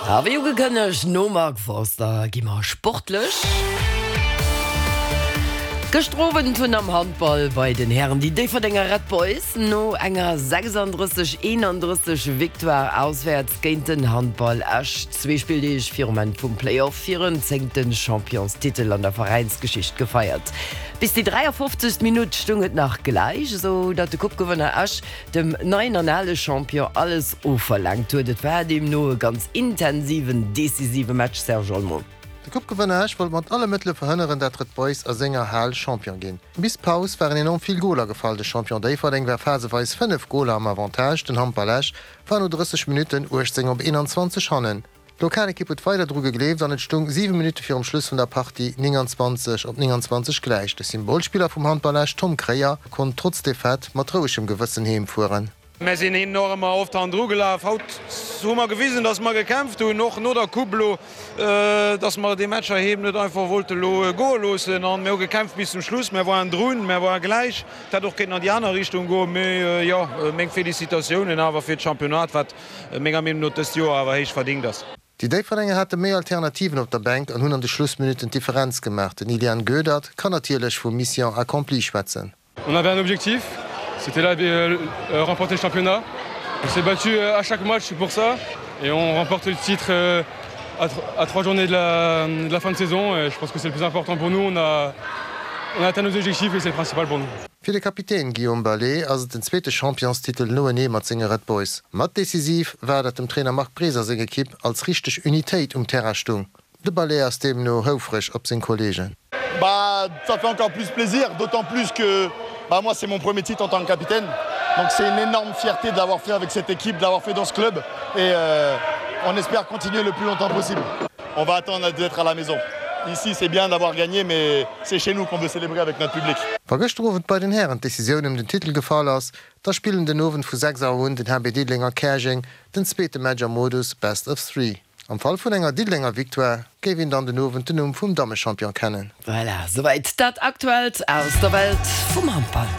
A wéi ugekënnegt, nom Mark Forster gi mer sportlech. Gëschter Owend hunn am Handball bei den Hären déi Déifferdenger Red Boys no enger 36, 31 Victoire auswäerts géint den Handball Esch zwee Spilldeeg virum Enn vum Playoff hiren zéngte Championstitel an der Veräinsgeschicht gefeiert. Bis déi 53. Minutt stung et nach gläich, esou datt de Coupe-Gewënner Esch dem neien an ale Champion alles ofverlaangt huet. Et war deemno e ganz intensiven, decisive Match, Serge Olmo. De Coupe-Gewënner Esch wollt mat alle Mëttele verhënneren, dat Red Boys a senger Hal Champion ginn. Bis d'Paus waren enorm vill Goler gefall. De Champion Déifferdeng war phaseweis 5 Goler am Avantage, den Handball Esch war no 30 Minutten 18 op 21 hannen. D'Lokalekipp huet weider dru gegleeft an et stung 7 Minutte virum Schluss vun der Partie 29 op 29 gläich. De Symbolspiller vum Handball Esch, Tom Kréier, konnt trotz Defaite mat rouegem Gewëssen heem fueren. Mär sinn hinnen och ëmmer oft hannendru gelaf. Haut hu mer gewisen, dass mer gekämpft hunn, och no der Coupe elo, dass mer dee Match heiheem net einfach wollte elo goe loossen. An mir hu gekämpft bis zum Schluss. Mär waren drun, mär ware gläich. Et hätt och kéinten an déi aner Richtung goen. Mee jo, meng Félicitatiounen awer fir d'Championnat, wat menger Meenung no dëst Joer awer héich verdingt ass. Déi Déifferdenger hate méi Alternativen op der Bänk an hunn an de Schlussminutten d'Differenz gemaach. Den Ilian Goedert kann natierlech vu Mission accomplie schwätzen. On avait un objectif, c'était là de remporter le championnat. On s'est battu à chaque match pour ça et on remporte le titre à trois journées de la, de la fin de saison et je pense que c'est le plus important pour nous. On a, on a atteint nos objectifs et c'est le principal pour nous. Fir de Kapitän Guillaume Ballé ass et den zweete Championstitel noenee mat senge Red Boys. Mat decisiv war, datt dem Trainer Marc Breser seng Ekipp als richteg Unitéit um Terrain stung. De Ballé ass deemno houfreg op seng Kolleegen. Bah ça fait encore plus plaisir, d'autant plus que bah moi c'est mon premier titre en tant que capitaine. Donc c'est une énorme fierté de l'avoir fait avec cette équipe, de l'avoir fait dans ce club et euh, on espère continuer le plus longtemps possible. On va attendre d'être à la maison. Ici c'est bien d'avoir gagné mais c'est chez nous qu'on veut célébrer avec notre public. Wa gëschter Owend bei den Hären d'Decisioun ëm den Titel gefall ass, da spillen den Owend vu 6 Auer un den HB Diddeleng a Käerjeng den zweete Match am Modus Best of Three. Am Fall vun enger Diddelenger Victoire géif een dann den Owend den Numm vum Dammechampion kennen. Voilà, souwäit dat Aktuellt aus der Welt vum Handball.